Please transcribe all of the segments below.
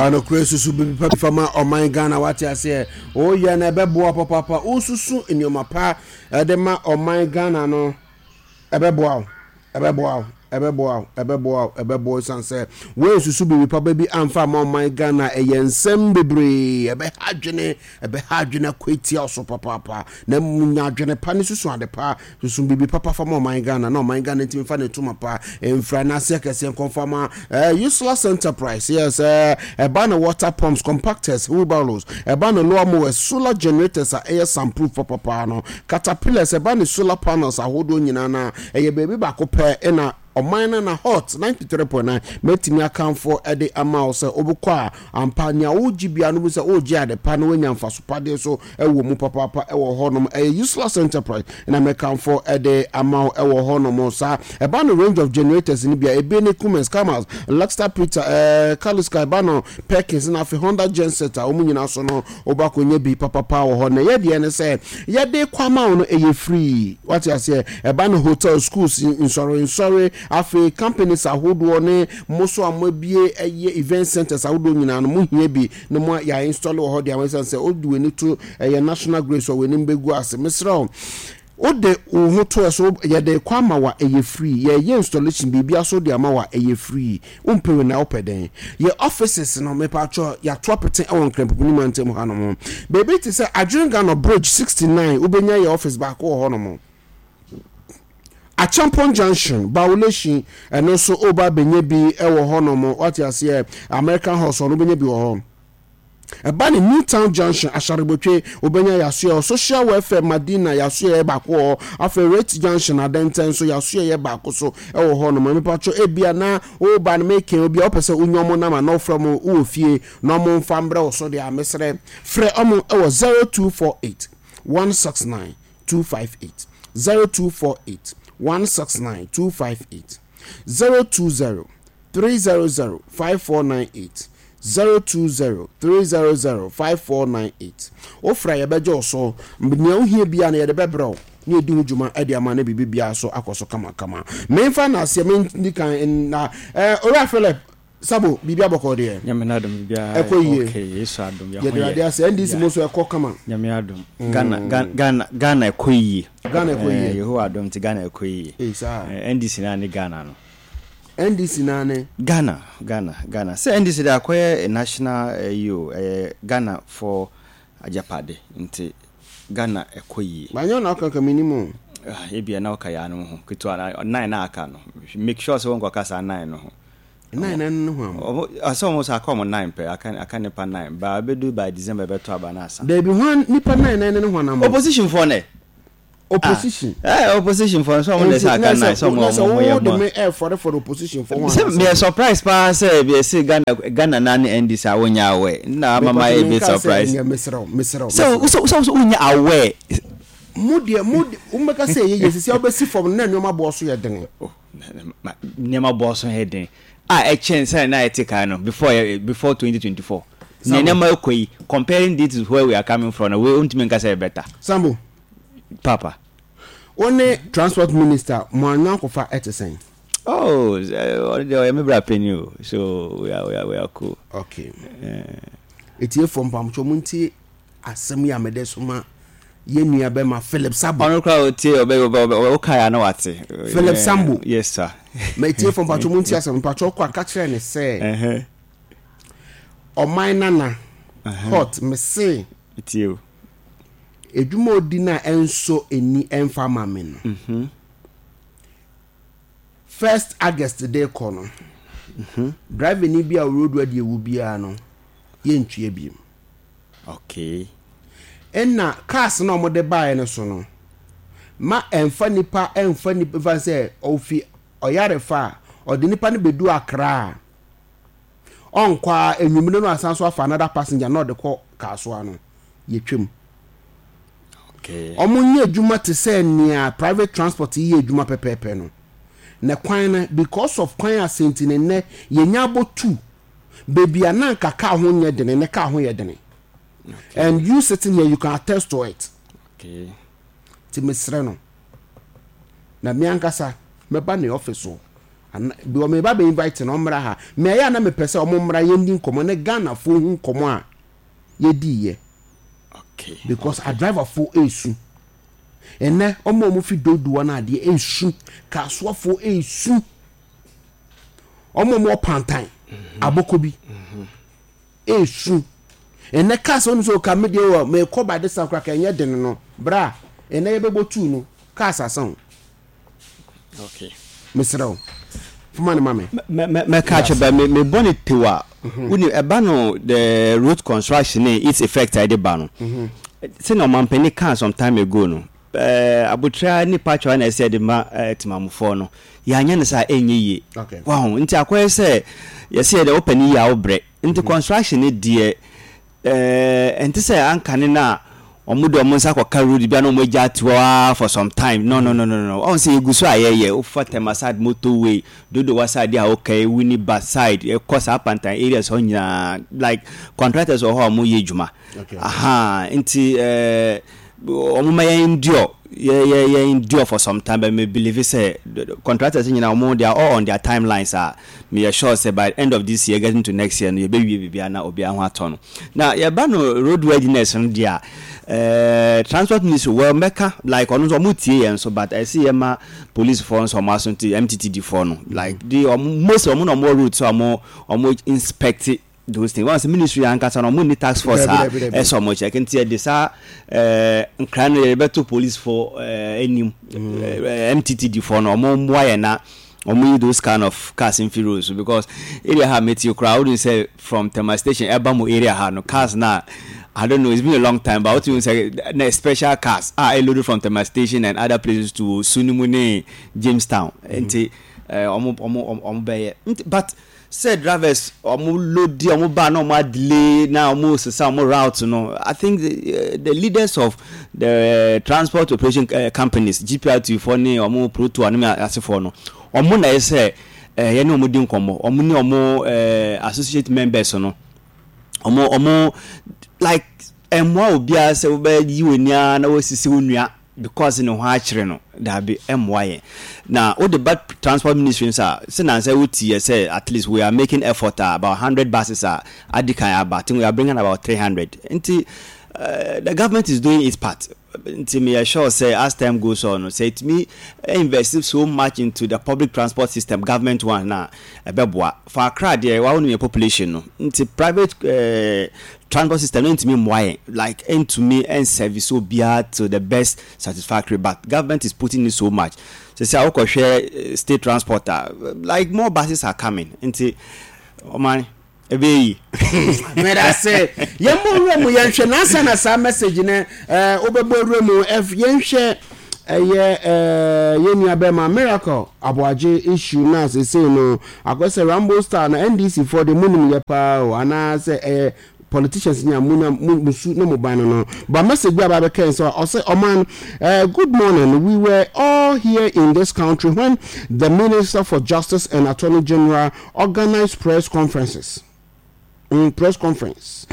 Nokorɛ susu biribi pa bi fa ma ɔman Ghana wate aseɛ woyɛ no ɛbɛboa papaapa wosusu nneɛma pa ɛde ma ɔman Ghana no ɛbɛboa wo ɛbɛboa wo ɛbɛboa wo ɛbɛboa wo ɛbɛboa wo ɛsiane sɛ woansusu biribi papa bi amfa ama ɔman Ghana ɛyɛ nsɛm bebree ɛbɛha adwene ɛbɛha adwene akɔ atia wo so papaapa na mmom nya adwene pa ne susu ade pa Susu biribi papa fa ma ɔman Ghana na ɔman Ghana ntumi fa ne ntoma pa mfira n'ase akɛseɛ nkɔmfa ma eh, Useless Enterprise yes eh, ɛba ne water pumps, compactors, wheelbarrows, ɛba ne lower mowers, solar generators a ɛyɛ soundproof papapaa no, caterpillars, ɛba ne solar panels ahodoɔ nyinaa na ɛyɛ baabi baako pɛ ɛna ɔman no na hot 93.9 mɛtumi akamfo de ama wo sɛ wobɛkɔ a ampa nea wogye bia no bu sɛ wogye ade pa na woanya mfaso padeɛ so wɔ mu papaapa wɔ hɔnom. Ɛyɛ Useless Enterprise na mɛkamfo de ama wo wɔ hɔnom. Saa ɛba no range of generators no bia ebi ne Cummins, Cummins, Lexter Peter, ɛɛ Kaliska, ɛba no Perkins na afei Honda genset a wɔn nyinaa so no wobɛkɔ nya bi papapa wɔ hɔ. Na ɛyɛ deɛ ne sɛ yɛde kɔ ama wo no ɛyɛ free. Wate aseɛ? Ɛba no hotel, schools, nsɔre nsɔre, afei companies ahodoɔ ne mo so a moabie ɛyɛ event centers ahodoɔ nyinaa no mo hia bi na mo yɛ install wɔ hɔ de ama ɛsiane sɛ wode w'ani to ɛyɛ national grid so a w'anim bɛgu ase mesrɛ wo wode wo ho to ɛso yɛde kɔ ama wa ɛyɛ free yɛyɛ installation biribia so de ama wa ɛyɛ free wompɛ wei na wopɛ dɛn yɛ offices no mepatwɔ yɛato apete ɛwɔ nkrampopini mantam ha nom baabi te sɛ Adwene Bridge 69 wobɛnya yɛ office baako wɔ hɔ nom Acheampong Junction, Bawuleshin, ɛno nso woba abɛnya bi wɔ hɔnom. Wate aseɛ? American House hɔ no wobɛnya bi wɔ hɔ. Ɛba ne New Town Junction, Asharebotwe, wobɛnya yasoɛ hɔ. Social Welfare, Madina, yasoɛ yɛ baako wɔ hɔ. Afei Rate Junction, Adɛntɛn nso yasoɛ yɛ baako so wɔ hɔnom. Mepatwɔ ebia na woba no mekɛn obi a wopɛ sɛ wonya ɔmo nama na wofrɛ ɔmo wowɔ fie na ɔmo mfa mbrɛ wo so deɛ a mesrɛ frɛ ɔmo wɔ 0248 169 258 0248 169 258 020 300 5498 020 300 5498 Wofrɛ a yɛbɛgye wo so. Nea wohia biara no yɛde bɛbrɛ wo na yɛdi ho dwuma de ama na biribi biara so akɔ so kamakama. Memfa nnaseɛ mendi kan na eh, Owura Philip Sabo, biribi abɔkɔ deɛ? Nyame n'adom biribiara Ɛkɔ yie. okay, Yesu adom yɛ ho Yɛde yɛ. Awurade ase. NDC Yeah. mo nso ɛkɔ kama. Nyame adom. Ghana Ghana Ghana ɛkɔ yie. Ghana ɛkɔ Eh, yie. Yehowa adom nti Ghana ɛkɔ yie. Ee saa. Eh, NDC naa ne Ghana no. NDC naa ne. Ghana Ghana Ghana. Sɛ NDC de akɔyɛ national eh, yi o, ɛyɛ Ghana for agyapade nti Ghana ɛkɔ yie. Banyɛ wo na woka nka mennim o. Ah, ebia na woka yaanom ho ketewa na nine na aka no. Make sure sɛ wonkɔka saa nine no ho. Nine na no ho am. Ɔmo asɛ ɔmo sɛ aka ɔmo nine pɛ, aka aka nipa nine. Ba ebedu by December ɛbɛtɔ aba na asa. Dabi hwan nipa nine nine ne hwan am? Opposition foɔ nɛ. Opposition. Ah, eh, opposition foɔ nso ɔmo na ɛsɛ aka nine sɛ ɔmo ɔmo ɔmo yɛ mo. Sɛ me ɛfɔre fɔre opposition foɔ ho anasɛ. Sɛ meyɛ surprise paa sɛ ebi ɛsɛ Ghana Ghana na ne NDC a wonya aware. Na ama ma yɛ bit surprise. Sɛ mesrɛ mesrɛ. Sɛ sɛ sɛ wonya aware. Mo deɛ mo mo bɛka sɛ ɛyɛ yie sisi a wobɛsi fam na nneɛma boɔ so yɛ den. Oh, nneɛma boɔ so yɛ den a ɛkyɛn sɛ na ɛte kan no before before 2024. Na nneɛma ɛkɔ yi comparing this to where we are coming from na we ntumi nka sɛ better. Sambo. Papa. Wo ne transport minister mo anyankofa ɛte sɛn? Oh, ɔno deɛ ɔyɛ me bra panyin o so we are we are we are cool. Okay. Etiefoɔ mpamokyɛ mo ntie asɛm yi a mede soma yɛn nua bɛma Philip Sabo. Ɔno koraa otie ɔbɛ ɔbɛ ɔbɛ ɔka ya na wate. Philip Sambo. Yes sir. Ma etiefoɔ mpamokyɛ mo ntie asɛm mpamokyɛ ɔkɔ aka kyerɛ ne sɛ ɔman nana hot mese. Etie o. Edwuma odi na ɛnsɔ eni ɛnfa ma me no. Mhm. First August de kɔ no. Mhm. Driver ni bi a road adi ewu biara no yɛntua biem. Okay. Ɛna cars na wɔde baeɛ no so no, ma ɛnfa nipa ɛnfa nipa fa sɛ ɔfi ɔyarefa a ɔde nipa no bɛdu Accra a ɔnkɔ a enwumire no asan so afa another passenger na ɔde kɔ Kasoa no yɛtwam. Okay. Wɔn nyɛ adwuma te sɛ nea private transport yɛ adwuma pɛpɛɛpɛ no. Na kwan no because of kwan asɛnti ne nnɛ yɛnya abɔ tu baabi a na anka car ho nyɛ dene ne car ho yɛ dene. Okay. And you sitting here you can attest to it. Okay. Ti mesrɛ no na me ankasa mɛba ne office hɔ. Ana bi wɔ meba bɛ invite no ɔmmra ha. Me ɛyɛ a na mepɛ sɛ ɔmo mmra yɛndi nkɔmmɔ ne Ghanafoɔ hu nkɔmmɔ a yɛdiiɛ. Okay. Because adriverfoɔ ɛresu. Ɛnɛ ɔmo a ɔmo fi Dodowa no adeɛ ɛresu. Kasoafoɔ ɛresu. Ɔmo a ɔmo wɔ Pantan, Abɔkɔ bi ɛresu. Ɛnɛ cars wɔn sɛ ɔka me deɛ wɔ mekɔ ba de sa koraa ka ɛnyɛ den no bra ɛnɛ yɛbɛbɔ tuu no cars asa o. Okay. Mesrɛ wo foma no ma me. Mɛka akyerɛ bɛ me mebɔ ne tew a wonim ɛba no the road construction ne its effect a ɛde ba no sɛnea ɔmampanin kaa some time ago no abotra ne pakyɛw na ɛsɛ de ma temamufoɔ no yɛanyɛ no saa ɛnyɛ yie waho nti akɔyɛ sɛ yɛsɛ yɛde wopɛ ne yie a wobrɛ nti construction ne deɛ Ɛnte sɛ ankane no a wɔde wɔn nsa kɔka road bi a na wɔagya ato hɔ ara for some time. No, no, no, no, no. Wahu sɛ yɛgu so a yɛyɛ. Wofa Tema side motorway, Dodowa side a woka yi, Winneba side, ɛkɔ saa Pantan areas hɔ nyinaa. Like contractors wɔ hɔ a wɔyɛ adwuma. Okay. Aha, nti eh, wɔn ma yɛn endure, yɛ yɛ yɛ endure for some time, but me believe sɛ contractors nyinaa wɔn they are all on their timelines a Meyɛ sure sɛ by end of this year getting to next year no yɛbɛwie biribiara na obiara ho atɔ no. Na yɛba no road worthiness no deɛ a, eh, transport ministry well mɛka like ɔno nso ɔmo tie yɛn nso but ɛsɛ yɛma police foɔ nso ɔmo aso nti MTTD foɔ no like de ɔmo most ɔmo na ɔmo wɔ road so ɔmo ɔmo inspect those things. Wɔn sɛ ministry ankasa no ɔmo nni task force a ɛsɛ ɔmo check nti yɛde saa ɛɛ nkran no yɛbɛto police foɔ ɛɛ anim ɛɛ MTTD foɔ no ɔmo mmoa yɛn na ɔmo yi those kind of cars mfi road so because area ha meti koraa wodun sɛ from Tema station ɛba mo area ha no cars na I don't know it's been a long time but wotumi sɛ na special cars a ɛload from Tema station and other places to Sunimu ne Jamestown nti ɛɛ ɔmo ɔmo ɔmo bɛyɛ nti but. Sɛ drivers ɔmo loadi ɔmo ba na ɔmo adelay na ɔmo sesa ɔmo route no, I think the, the leaders of the transport operation companies, GPRT foɔ ne ɔmo Protoa ne asefoɔ no, ɔmo na ɛsɛ sɛ yɛne ɔmo di nkɔmmɔ, ɔmo ne ɔmo associate members no, ɔmo ɔmo like ɛmmoa obiara sɛ wobɛyi w'ani ara na wasisi wo nua. Because ne ho akyere no, daabi, ɛmmoa yɛn. Na wode ba transport ministry nso a, sɛ nansa wo ti yɛ sɛ at least we are making effort a about hundred buses a adi kan aba, I think we are bringing about 300. Nti the government is doing its part. Nti me yɛ sure sɛ as time goes on no, sɛ ɛtumi invest so much into the public transport system, government one no a, ɛbɛboa. For Accra deɛ, wa wonim yɛ population no, nti private transport system no ntumi mmoa yɛn like ɛntumi ɛnservice obiara to the best satisfactory but government is putting in so much sɛsɛ a wokɔhwɛ state transport a like more buses are coming nti ɔman ɛbɛyɛ yi. Meda se yɛmmɔ wura mu yɛnhwɛ nansa na saa message no eh, wobɛbɔ wura mu yɛnhwɛ ɛyɛ eh, yɛn nua bɛma Miracle Aboagye issue no a sesei no Akɔyɛ sɛ Rambo style no NDC foɔ deɛ monim yɛ paa o anaa sɛ ɛyɛ politicians ni a mo na mo su ne mo ban no no but message bi a ba bɛka sɛ ɔsɛ ɔman uh, good morning we were all here in this country when the minister for justice and attorney general organized press conferences mm, press conference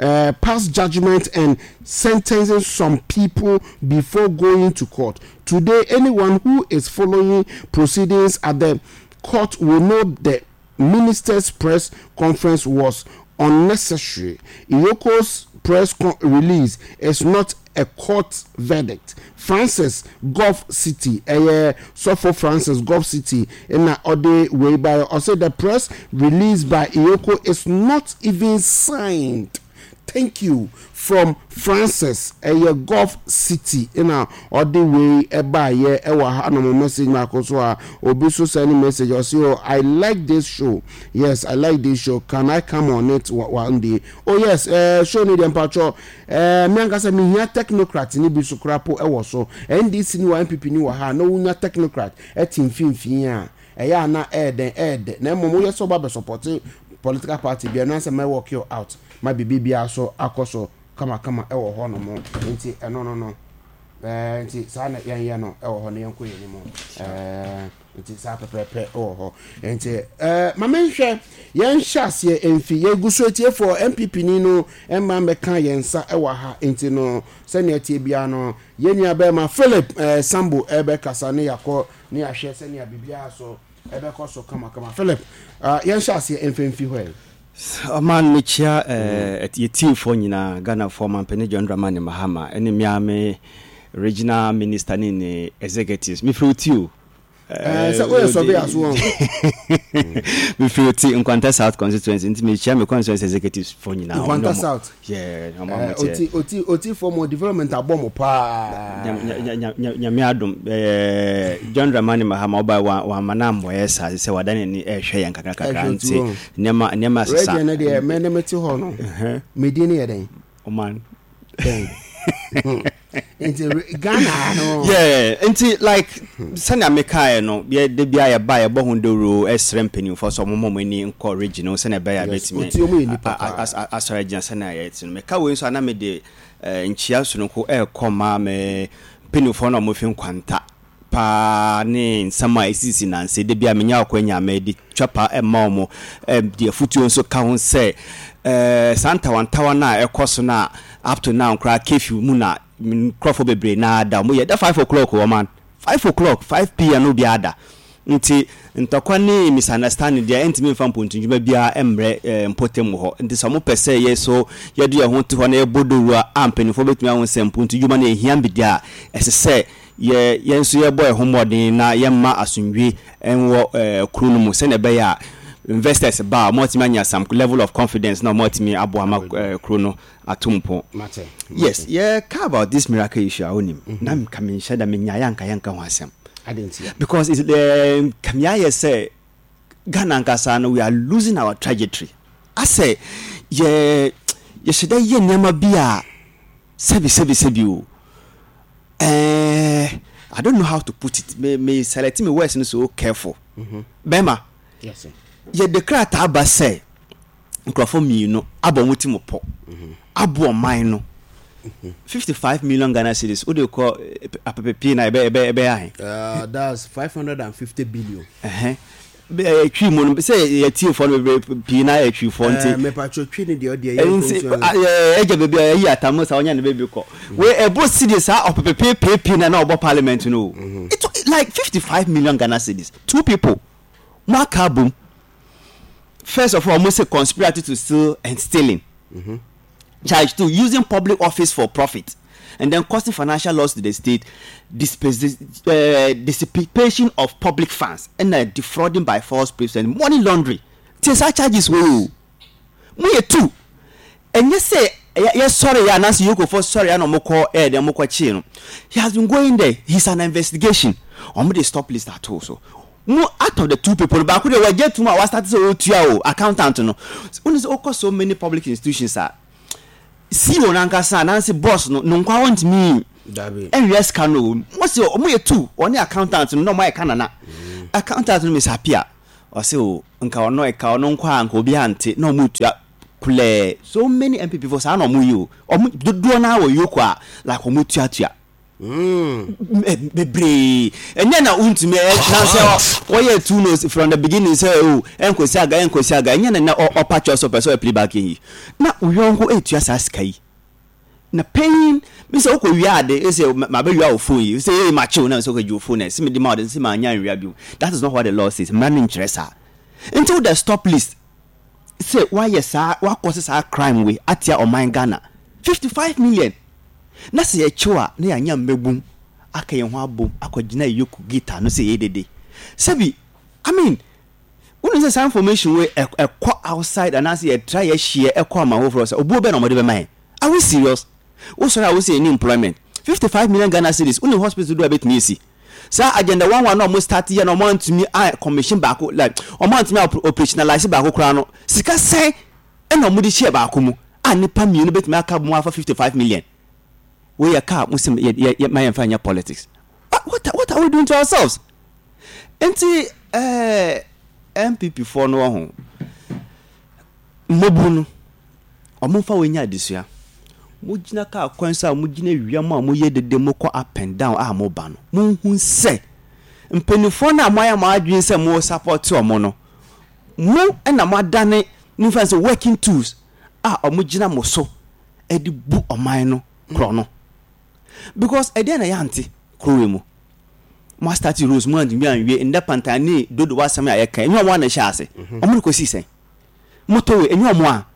uh, pass judgment and sentencing some people before going to court. Today, anyone who is following proceedings at the court will know the minister's press conference was unnecessary. EOCO's press release is not a court verdict. Francis Gulf City, ɛyɛ sɔfo Francis Gulf City na ɔde wei baeɛ. Ɔse the press release by EOCO is not even signed. Thank you from Francis, ɛyɛ Gulf City na ɔde wei baeɛ ɛwɔ hanom. Message baako so a obi so send message ɔse oh I like this show, yes I like this show, can I come on it one day? Oh yes, eh, show no deɛ mpakyɛ Eh, me ankasa mehia technocrat no bi so koraa po wɔ so. NDC ni wɔ ha, NPP ni wɔ ha a, na wonya technocrat te mfimfini a, ɛyɛ a na ɛyɛ dɛn, ɛyɛ dɛ. Na mmom woyɛ sɛ woba bɛsupɔte political party bi a, ɛno ara sɛ mɛ work you out ma biribi biara so akɔ so kamakama wɔ hɔ nom. Nti ɛno no no, eh, nti saa na yɛnyɛ no wɔ hɔ na yɛnkɔ yɛn anim. Eh, Nti saa pɛpɛɛpɛ wɔ hɔ. Nti ɛɛ ma menhwɛ yɛnhyɛ aseɛ mfi yɛgu so atiefoɔ NPP ni no mma mmɛka yɛn nsa wɔ ha nti no sɛnea ɛteɛ biara no yɛn nua bɛrima Philip ɛɛ Sambo ɛbɛkasa ne yɛakɔ ne yɛahwɛ sɛnea biribiara so. ɛbɛkɔ so kamakama. Philip, uh, yɛnhyɛ aseɛ mfɛmfi hɔ ɛ. Ɔman mekyia eh, yɛ teamfoɔ nyinaa, Ghanafoɔ, Ɔmanpanin John Dramani Mahama ɛne me ara me regional minister ne ne executives. Mefiri wo ti o. Eh, sɛ woyɛ surveyor so wɔn. Mefiri wo ti, Nkwanta South constituency, nti mekyia me constituency executives foɔ nyinaa. Nkwanta South. Yeah, ɔmo a Eh, moteɛ. oti oti oti fɔ mo development abɔ mo paa. Nyame adom eh, John Dramani Mahama ɔbae wa wamma no ammɔyɛ saa sɛ wada n'ani ɛrehwɛ yɛn kakra kakra Ɛhwɛ nti otu nneɛma nneɛma asesa. Region no deɛ me ne me te hɔ no. Me din no yɛ dɛn? Ɔman. Dɛn? Hmm. Nti Ghana ha no. Yeah, nti like sɛnea mekaeɛ no yɛ da biara yɛba yɛbɔ ho dawuro ɛsrɛ mpanimfoɔ sɛ wɔmmɔ wɔn ani nkɔ region no sɛnea ɛbɛyɛ a Yes, bɛtumi ɔtie ɔmo yɛ nipa paa. asɔre agyina sɛnea yɛte no. Meka wei nso a na mede eh, nkyia sononko ɛrekɔ ma me mpanimfoɔ no a wɔfi Nkwanta paa ne nsɛm a esisisi nnansa yi. Da biara menya akwanya a mede twa pa ma wɔn. De afotuo nso ka ho sɛ saa ntawantawa no a ɛkɔ so no a up to now koraa curfew mu na nkurɔfoɔ bebree no ara da. Wɔyɛ da 5 o'clock o ɔman. 5 o'clock, 5 pm na obiara da. Nti ntɔkwa ne misunderstanding deɛ ɛntumi mfa mpontondwuma biara mmrɛ mpɔtam hɔ. Nti sɛ wɔpɛ sɛ yɛ so yɛde yɛn ho to hɔ na yɛbɔ dawuro a mpanimfoɔ bɛtumi ahu sɛ mpontondwuma no ɛhia bi deɛ a, ɛsɛ sɛ Yɛ yɛn nso yɛbɔ yɛn ho mmɔden na yɛmma asomdwie nwɔ kuro no mu sɛnea ɛbɛyɛ a investors ba a wɔatumi anya some level of confidence na wɔatumi aboa ma kuro no ato mpɔn. Yes, yɛka about this miracle issue a wonim na nka menhyɛ da menyaeɛ a nka yɛnka ho asɛm because it's nka meayɛ sɛ Ghana ankasa no we are losing our trajectory asɛ yɛ yɛhyɛ da yɛ nneɛma bi a Sɛbi sɛbi sɛbi o eh, I don't know how to put it. Me me select me words no so careful. Bɛrima, Yes. yɛde krataa ba sɛ nkurɔfoɔ mmienu abɔ wɔn ti mu pɔ abo ɔman no 55 million Ghana cedis wode kɔ eh, apepepie na ɛbɛ ɛbɛ ɛbɛyɛ ahe? That's 550 billion. Ɛhɛn. Bɛ twi mu no sɛ yɛ tiefoɔ no bebree pii na yɛ twifoɔ nti. Ɛɛ mepatwɔ twi no deɛ ɔdeɛ yɛ nti mfomsoɔ no. Ɛgya baabi a ɛyi atamu saa ɔnya ne baabi kɔ. Wei ɛbɔ cedi saa ɔpepepeepeepee na na ɔbɔ parliament no o. It like 55 million Ghana cedis two people mo aka abom. First of all mo se conspiracy to steal and stealing. Charge to using public office for profit and then causing financial loss to the state, dissipation of public funds, ɛna defrauding by false pretense, money laundry. Tie saa charges wei o. Mo yɛ two. Ɛnyɛ sɛ yɛsɔre yɛ anaasɛ yɛkɔfɔ sɔre yɛ na wɔn kɔ ɛyɛ deɛ wɔn kɔ kyee no. He has been going there. He's an investigation. Wɔn de stop list ato so. Mo out of the two people no baako deɛ wagye atum a wastate sɛ ɔretua o accountant no. Wone sɛ wokɔ so many public institutions a CEO no ankasa anaasɛ boss no no nkwa wɔntumi nwia sika no o. Mo se ɔmo yɛ two ɔne accountant no na ɔmo ayɛ kanana. Accountant no Miss Apia ɔse o nka ɔno ɛka ɔno nkwa a nka obi ante na ɔmo tua kulɛɛ. So many MPP fo saa na ɔmo yɛ o. Ɔmo dodoɔ naa wɔ yoko a like ɔmo tuatua. Bebree. Ɛnyɛ na wontumi ɛ na sɛ wɔyɛ two notes from the beginning sɛ o ɛnkosi aga ɛnkosi aga ɛnyɛ na na ɔpa kyɛw sɛ ɔpɛ sɛ ɔyɛ plea bargain yi na wo yɔnko ɛtua saa sika yi na paying mi sɛ wokɔ wia ade sɛ ma bɛ wia wo phone yi sɛ ee ma kyew na sɛ wokɔ gye wo phone na sɛ mede ma wo de sɛ ma nya nwia bio. That is not what the law says. Mmara no nkyerɛ saa. Nti wo the stop list sɛ woayɛ saa woakɔ sɛ saa crime wei atia ɔman Ghana 55 million. Na sɛ yɛkyew a na yɛanya mmabun aka yɛn ho abom akɔgyina Yoku guitar no sɛ yɛyɛ dede. Sɛbi, I mean, wonim sɛ saa information wei ɛkɔ outside anaasɛ yɛtra yɛhyeɛ ɛkɔ aman foforɔ sɛ obuo bɛn na wɔde bɛma yɛn? Are we serious? Wosɔre a wose yɛnni employment. 55 million Ghana cedis, wonim hospital dodoɔ a ɛbɛtumi asi? Saa agenda one one na wɔn start yɛ na wɔn antumi a commission baako like wɔn antumi a operationalize baako koraa no, sika sɛn Ɛna wɔde hyɛɛ baako mu a nnipa mmienu bɛtumi aka mu afa 55 million. Wei yɛ car mo sɛ yɛ yɛ ma yɛmfa nyɛ politics. What what are we doing to ourselves? Nti ɛɛ eh, NPP foɔ no wɔ ho mmɔbu no wɔn mfa wɔn nyɛ adesua. Mo gyina car kwan so a mo gyina wia mu a mo yɛ dede mo kɔ up and down a mo ba no mo hu sɛ mpanimfoɔ no a mo ayɛ mo adwene sɛ mo support wɔn no Mo na moadane mo mfa sɛ working tools a wɔgyina mo so de bu ɔman no korɔ no. Because ɛdeɛn na yɛante kuro wei mu? Mo astarte roads mo antumi anwie ndɛ pantan ne dodow asɛm a yɛka ɛnyɛ ɔmo a na ɛhyɛ ase. Ɔmo de kɔsii sɛn? Motorway ɛnyɛ ɔmo a.